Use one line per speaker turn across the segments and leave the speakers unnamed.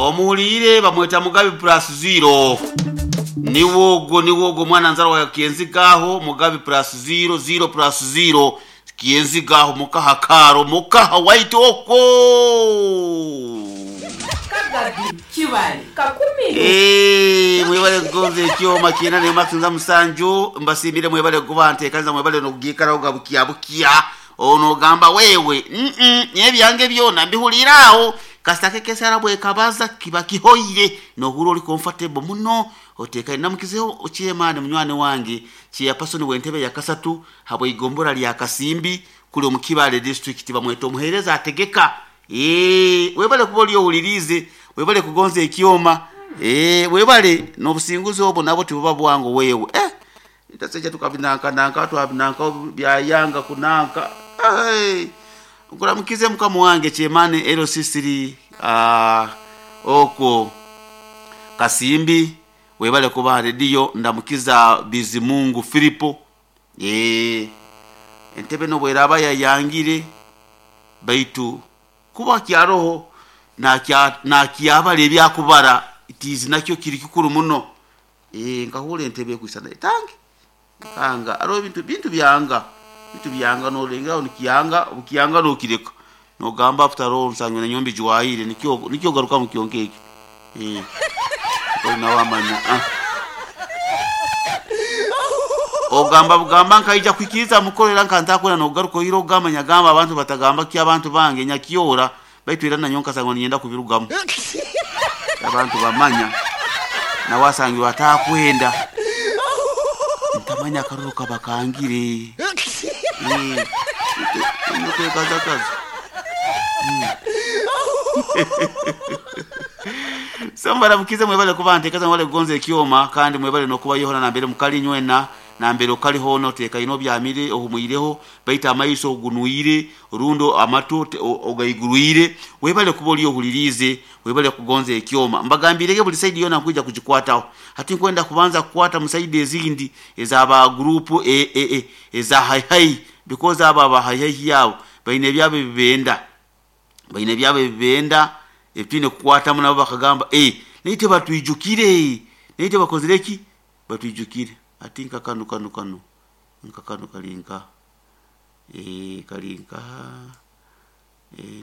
Omuhuliire bamweta Mugabi plus zero. Niwe ogwo, niwe ogwo mwana nzarwa ya Kienzigaho. Mugabi plus zero, zero plus zero, Kienzigaho, mukaha karo mukaha white okwo.
Kagabi Kibale Kakumiro.
Mwebale kugonza ekyoma kyena nemasinza musanju. Mbasiimire, mwebale kuba nteekaniza, mwebale nokugiikaraho ga bukya bukya. Ono ogamba wewe, ebyange byona mbihulira aho kasita kekesara bwekabaza kiba kihoire nohura oli comfortable muno oteekaine. Namukizeho okyemani munywani wange chairperson w'entebe ya kasatu habweigombora lya Kasimbi kuli omu Kibale District, bamweta omuheereza ategeka. Webale kuba oli owuliriize, webale kugonza ekyoma, webale n'obusinguzi obwo nabwo tibuba bwangu wewe. Itaseja tukabinankananka twabinanka byayanga kunanka. Hey, nkuramukize mukama wange kyemane LC3 okwo Kasimbi, webale kuba rediyo. Ndamukiza Bizimungu Filipo. Entebe nobweraba yayangire baitu kuba kyaroho nakyabala ebyakubara itizi nakyo kiri kikuru muno. Nkahura entebe ekwisana etange kanga aroho bintu bintu byanga bintu byanga nolengeraho nikyanga obukyanga nokireka nogamba after all nsangwe na nyombi jwahire nikyo nikyo garuka mu kyonke ekyo. Olina wamanya. Ogamba bugamba nkaija kwikiriza mukorera nkantakura nogaruka oiro ogamba nyagamba abantu batagamba ki abantu bange nyakyora baitu era nanyo nkasanga ninyenda kubirugamu abantu bamanya nawasangirwa atakwenda ntamanya akaruru kabakangire. Nokwekazakaza so mbaramukize, mwebale kuba nteekaza, mwebale kugonza ekyoma kandi mwebale nokuba yohona nambere mukali nywena nambere okaliho noteeka ino obyamire ohumwireho baita amaiso ogunwire rundo amatu ogaigurwire. Webale kuba oli ohuliriize, webale kugonza ekyoma. Mbagambirege buli side yona nkwija kugikwataho. Hati nkwenda kubanza kukwata mu side ezindi ezaba group eza haihai because abo aba haihai yabo baine ebyabo ebibenda, baine ebyabo ebibenda ebitwine kukwatamu. Nabo bakagamba naite batwijukire, naite bakozire ki batwijukire. Ati nka kano kano kano nka kano kalinka kalinka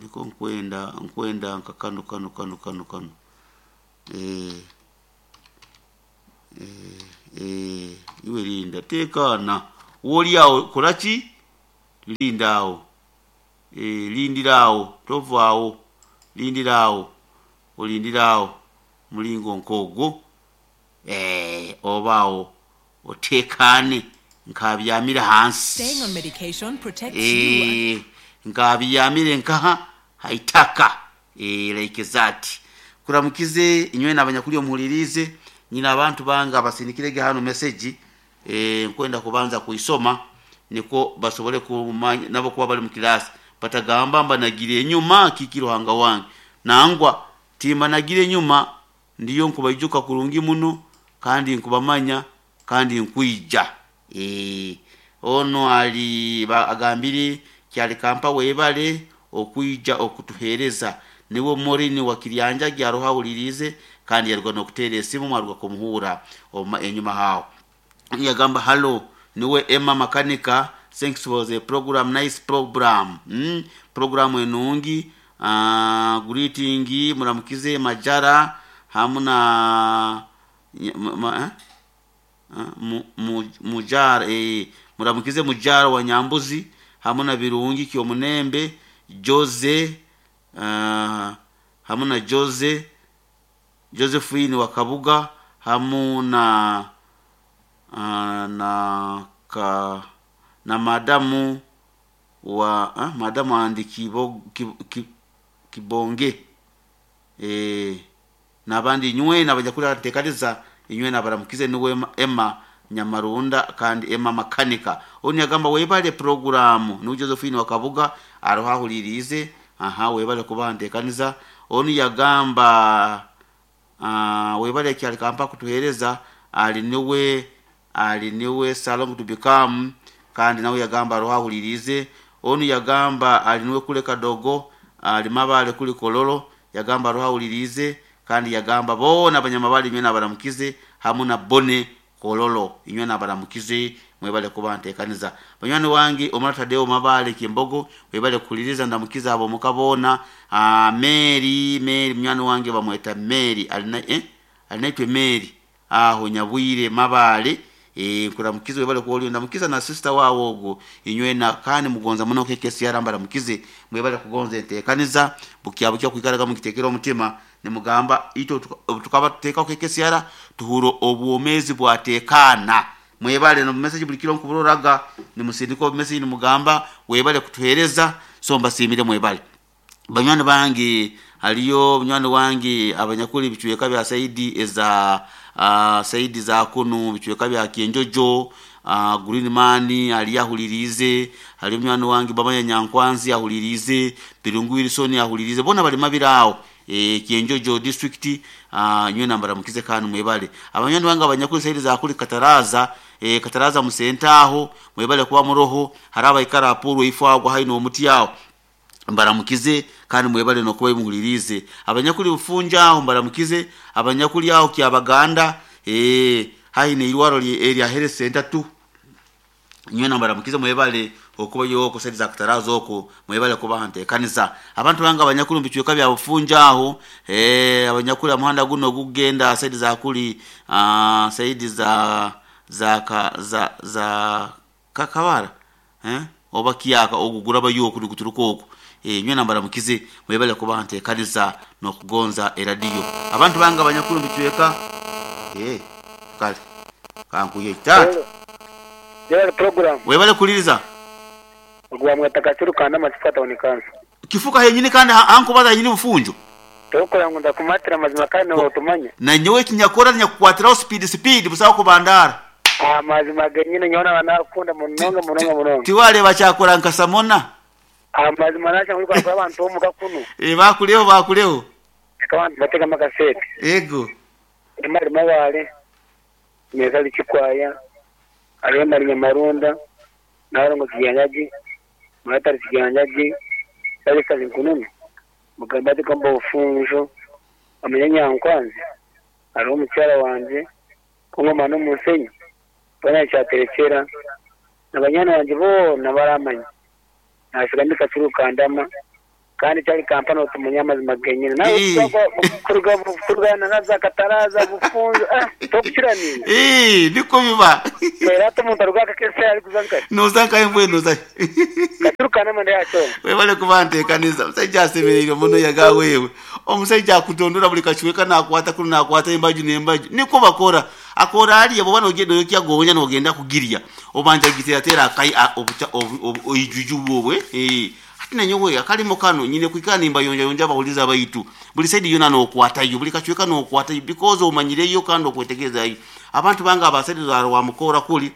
niko nkwenda nkwenda nka kano kano kano kano kano iwe linda tekana woli awo kolaki linda awo lindira awo tovaawo lindira awo olindira awo mulingo nkogwo obaawo otekane nkabyamire hansi.
Staying on medication protects you and
Nkabyamire nkaha haitaka like that. Kuramukize inywe nabanyakuli omuhulirize nyina abantu bange abasindikirege hano message. Nkwenda kubanza kuisoma niko basobole kumanya nabo kuba bali mu kilasi batagamba mbanagire enyuma kiki Ruhanga wange nangwa timbanagire enyuma ndiyo nkubaijuka kurungi muno kandi nkubamanya kandi nkwija. Ono ali agambire kyali kampa webale okwija okutuhereza niwe Morini wa Kiryanja gyaruhawulirize kandi yaruga nokutera esimu mwaruga kumuhura enyuma hao. Yagamba hello, niwe Emma Makanika, thanks for the program, nice program, program enungi. Greeting muramukize Majara hamu na eh? Mujara, muramukize Mujara wa Nyambuzi hamu na Birungi Kyomunembe Jose, hamu na Jose Josephine wa Kabuga hamu na na ka na madamu wa madamu andi Kibonge nabandi nywe nabajakula ntekaliza inywe nabaramukize niwe Emma Nyamarunda kandi Emma Makanika. Oni yagamba webale programu ni Josephine wa Kabuga arohahulirize. Aha, webale kuba ntekaniza. Oni yagamba webale kyali kampa kutuhereza ali niwe ali niwe Salong to become kandi nawe yagamba arohahulirize. Onu yagamba ali niwe kule kadogo ali mabale kuli Kololo yagamba arohahulirize. Kandi yagamba boona abanyamabale inywe nabaramukize, hamu na Bone Kololo inywe nabaramukize, mwebale kuba ntekaniza. Banywani wange omara Tadeo Mabale Kimbogo, webale kukuliriza, ndamukiza abo mukabona. Mary Mary munywani wange bamweta Mary alina alinaitwe Mary aho Nyabwire Mabale, nkuramukize webale kuoli, ndamukiza na sister wawo ogwo inywe na kandi mugonza muno keke siara mbaramukize, mwebale kugonza entekaniza bukya bukya kwikaraga mukitekera omutima nimugamba ito tukaba tuteka keke siara tuhuro obwomezi bwatekana. Mwebale no message buli kiro nkuburoraga nimusindika message nimugamba webale kutuhereza, so mbasimire mwebale. Banywani bange haliyo munywani wange abanyakuli bichweka bya saidi eza saidi za kunu bichweka bya Kienjojo, Green Man ali yahulirize, hali munywani wange bamanya Nyankwanzi ahulirize, Birungu Wilson ahulirize, bona bali mabirao Kienjojo district. Nywe nambara mukize kanu mwebale. Abanywani wange abanyakuli saidi za kuli Kataraza, Kataraza musentaho mwebale kuba muroho, haraba ikara apuru ifagwa haino omuti yao mbaramukize kandi mwebale nokuba muhulirize. Abanyakuli bufunja aho mbaramukize, abanyakuli aho kyabaganda haine irwaro area health center tu nywe mbaramukize mwebale okuba yoko saidiza Kataraza oko mwebale kuba ntekaniza. Abantu banga abanyakuli mbichweka bya bufunja aho abanyakuli amuhanda guno gugenda saidiza kuli saidi za za ka, za za kakabara oba kiyaka ogugura bayoko kuturuko oko nywe mbaramukize mwebale kuba ntekaniza nokugonza eradio. Abantu banga abanyakulu mbichweka kale kankuye tata
Jera program
webale kuliriza
ogwa mwatakatiru kana matifata onikansa
kifuka henyini kandi ankubaza henyini bufunjo
tokora ngo ndakumatira mazima kandi otumanya
na nyowe kinyakora nyakukwatiraho speed speed busaho kubandara
amazima genyine nyona banakunda munonga munonga munonga
tiwale bachakora nkasamona
amazima nacha muri kwa abantu bo mukakuno
bakuleho bakuleho
abantu batega makasete
ego
imari mabale meza lichikwaya arema Nyamarunda narongo kiyanyaji matari kiyanyaji salisa nkununu mugambati kamba ufunjo amenya Nyankwanzi ari omukyala wanje kungoma n'omusenyi bona kyaterekera nabanyana wanje bona baramanya nasiga ndikakirukandama kandi cyari kampani otumanya amazima genyine nawe kurugana naza Kataraza bufunzo tokukiraniye
niko biba
era tomuntu arugaka kese ari kuzanka
nozanka embwe noza
katurukana manda yacho
webale kubantekaniza. Omusajja asemereire muno yaga wewe omusajja akutondora buli kachweka nakwata kuno nakwata embaju n'embaju niko bakora akora aliya bwoba nogenda oyokya gonya nogenda kugirya obanja giteratera akai oijuju bwobwe nanyowe akalimo kano nyine kwikana nimba yonja yonja bahuliza baitu buli saidi yona nokwatayo buli kachweka nokwatayo because omanyireyo kandi okwetegezayo. Abantu banga abasaidi wa mukora kuli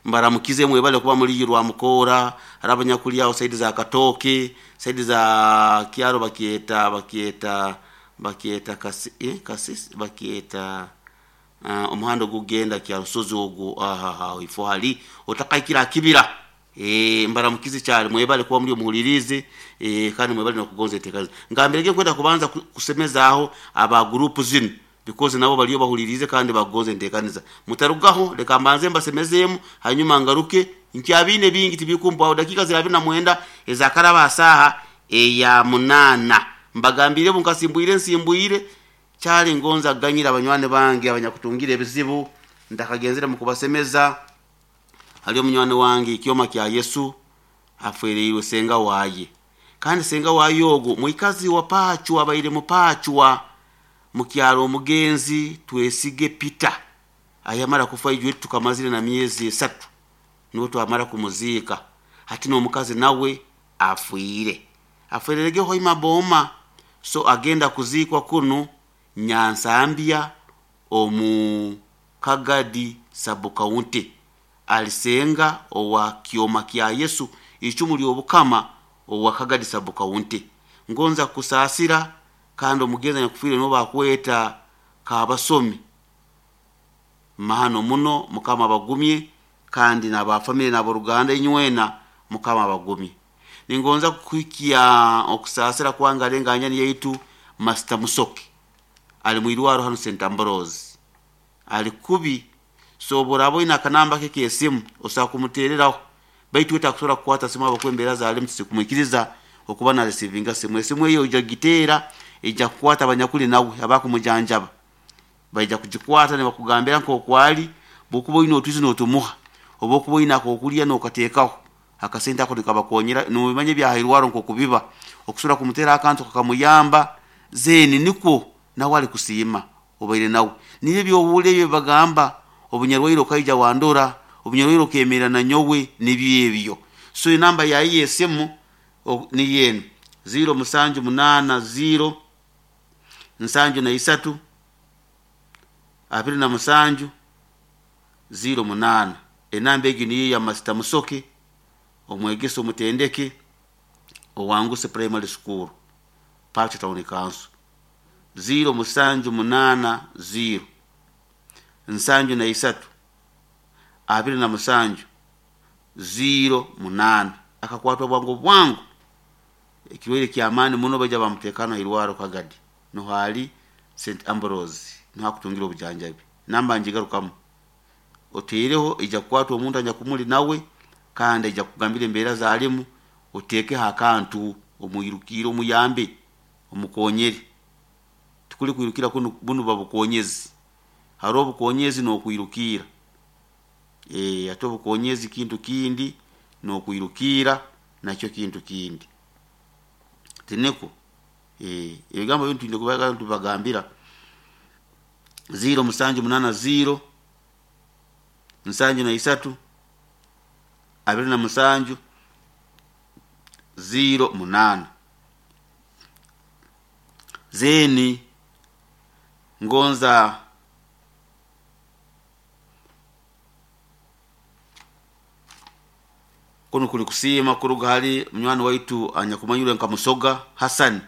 mbaramukize mwebale kuba muri rwa mukora arabanyakuli aho saidi za Katoke saidi za Kiaro bakieta bakieta bakieta kasi kasisi bakieta omuhando gugenda kya rusozi ogwo aha ifo hali otakaikira kibira mbaramukize cyane mwebale kuba muri muhulirize kandi mwebale nokugonza etekazi ngambirege kwenda kubanza kusemeza aho aba group zino because nabo baliyo bahulirize kandi bagonze ntekaniza. Mutarugaho leka mbanze mbasemezemu hanyuma ngaruke nkyabine bingi tibikumpa dakika zirabina mwenda ezakaraba saha eya 8 mbagambire bunkasimbwire nsimbwire cyali ngonza ganyira abanywane bange abanyakutungira ebizibu ndakagenzera mu kubasemeza. Haliyo munywani wange ikyoma kya Yesu afwereirwe senga waye kandi senga waye ogo mwikazi wa Pachwa abaire mupachwa mukyalo omugenzi twesige Peter ayamara kufa ijwe tukamazire na miezi 3 niwo twamara kumuzika hati n'omukazi nawe afwire afwererege hoima boma so agenda kuzikwa kuno Nyansambya omu Kagadi sub-county alisenga owa kioma kya Yesu icumu ly'obukama owa Kagadi sub-county ngonza kusaasira kandi omugenzi nyakufire no bakweta kabasomi mahano muno mukama bagumye kandi n'abafamily n'aboruganda inywena mukama bagumye. Ningonza kukikia okusaasira kwanga lenganya yaitu Master Musoke ali mwirwaro hanu St Ambrose ali kubi. So oburaba oine akanamba ke k'esimu osobola kumuteereraho, baitu we takusobola kukwata simu habwokuba embeera zaalimu tizikumwikiriza okuba na receivinga simu. Esimu eyo oija kugiteera, ija kukwata abanyakuli nawe abakumujanjaba, baija kugikwata nibakugambira nk'oku ali. Bwokuba oine otwizi n'otumuha, oba okuba oine akokulya n'okateekaho akasente ako nikabakonyera. Nobimanya ebyahairwaro nk'okubiba, okusobora kumuteera akantu kakamuyamba, then nikwo nawe ali kusiima obaire nawe. Nibyo ebyohuura ebyo bagamba obunyarwaire okaija wandora, obunyarwaire okemerra na nyowe, nibyo ebyo. So enamba yaye y'esimu niyo enu 0780 73 27 08. Enamba egi niyo ya Master Musoke, omwegesa omutendeke owanguse Primary School, Pacho Town Council. 0780 73 27 08. Akakwatwa bwangu bwangu ekirwaire ky'amaani muno, baija bamuteekano hairwaro Kagadi, nuho ali St Ambrose, nuho akutungira obujanjabi. Namba ngigarukamu, oteireho ija kukwata omuntu anyakumuli nawe, kandi aija kukugambira embeera zaalimu, oteekeho akantu omwirukire omuyambe omukonyere. Tikuli kwirukira kunu, bunu buba bukonyezi. Haroho obukonyezi n'okwirukira. Ate obukonyezi kintu kindi, n'okwirukira nakyo kintu kindi. Tiniko ebigambo binu twine kuba tubagambira. 0780 73 27 08. Zeni ngonza kunu kuli kusiima kuruga hali munywani waitu anyakumanyirwe nka Musoga Hassan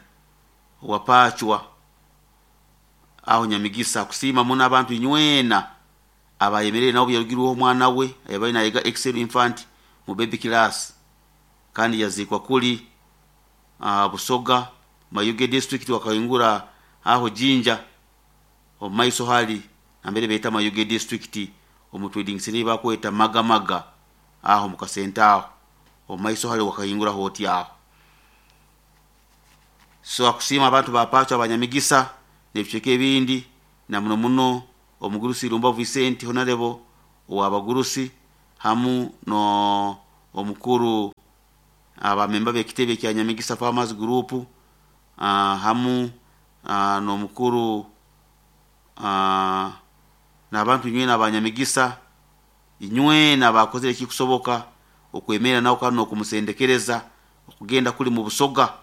wa Pachwa aho Nyamigisa. Kusiima muno abantu inywena abayemerere nabo yarugirweho omwana we yabaire nayega Excel Infant mu baby class, kandi yaziikwa kuli Busoga Mayuge district, wakahingura aho Jinja omu maiso hali nambere beeta Mayuge district, omu trading center bakweta Magamaga aho mukasente aho omu maiso hali wakahingura hoti aho. So akusiima abantu ba Pacho abanyamigisa n'ebicweka ebindi, na muno muno omugurusi Irumba Vicent Honorable ow'abagurusi, hamu no omukuru abamemba b'ekitebe kya Nyamigisa Farmers Group, hamu n'omukuru n'abantu inywena abanyamigisa inywena abakozere ekikusoboka okwemerra nawe kandi n'okumusendekereza okugenda kuli mu Busoga,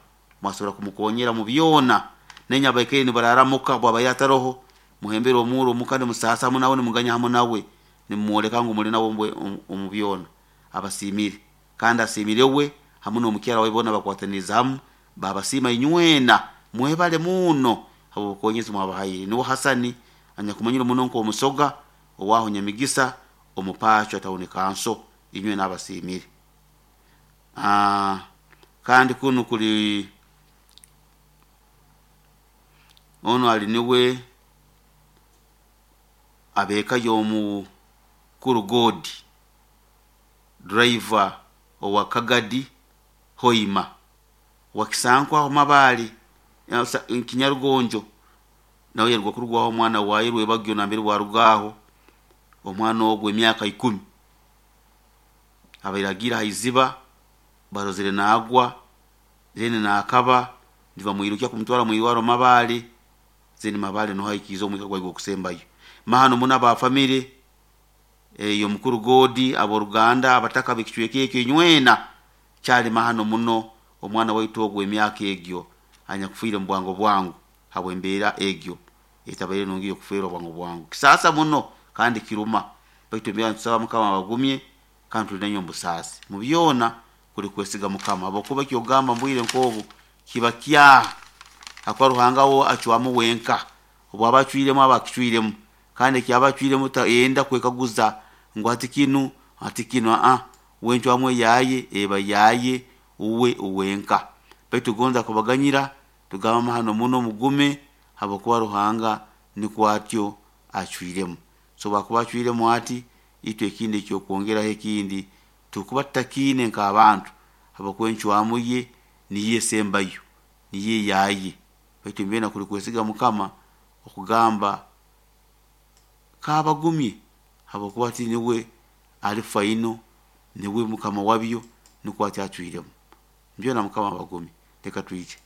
mwasobora kumukonyera mu byona. Nainywe abaikaire nibararamuka bwabaire ataroho, muhembere omuuro omuka nimusaasa hamu nawe, nimuganya hamu nawe, nimumwoleka ngu muli nawe omu byona. Abasiimire kandi asiimire we hamu n'omukyara wawe, boona bakwataniriza hamu babasiima inywena. Mwebale muno habw'obukonyezi mwabahaire. Niwe Hasani anyakumanyire muno nk'Omusoga owaho Nyamigisa omu Pacho Town Council, inywena abasiimire. Kandi kunu kuli ono ali niwe ab'eka y'omukuru God driver owa Kagadi Hoima wakisankwa aho Mabaale Kinyarugonjo, nawe yaruga kurugwaho omwana waye Rwebagyo nambere bwarugaho omwana ogwo emyaka 10 abaire agiire haiziba, barozere naagwa, then naakaba nibamwirukya kumutwara mwirwaro Mabaale, then Mabaale nuho aikiize omwika gwaye gw'okusembayo. Mahano muno aba famire ey'omukuru Godi, ab'oruganda, abataka b'ekicweka ekyo inywena, kyali mahano muno omwana waitu ogwo emyaka egyo anyakufiire mu bwango bwangu habw'embeera egyo etabaire nungi y'okufeerwa bwangu bwangu. Kisaasa muno kandi kiruma, baitu embeera nitusaba Mukama abagumye kandi tuli nainywe omu busaasi. Mu byona kuli kwesiga Mukama, habwokuba ekyogamba mbwire nk'obu kiba kyaha, hakuba Ruhanga wo acwamu wenka, obwaba acwiremu aba akicwiremu, kandi ekyaba acwiremu yenda kwekaguza ngu hati kinu hati kinu, wencwamu eyaye eba yaye uwe uwenka. Baitu gonza kubaganyira Tugamba amahano muno, mugume, habwokuba Ruhanga nikwo atyo acwiremu. So bwakuba acwiremu ati, itwe ekindi ekyokwongeraho ekindi tukuba tutakiine nk'abantu, habwokuba encwamu ye niyo esembayo, niyo eyaye. Baitu mbyena kuli kwesiga Mukama okugamba kabagumye, habwokuba ati niwe ali faino, niwe Mukama wabyo, nikwo ati acwiremu. Mbyona Mukama abagumye. Leka twije.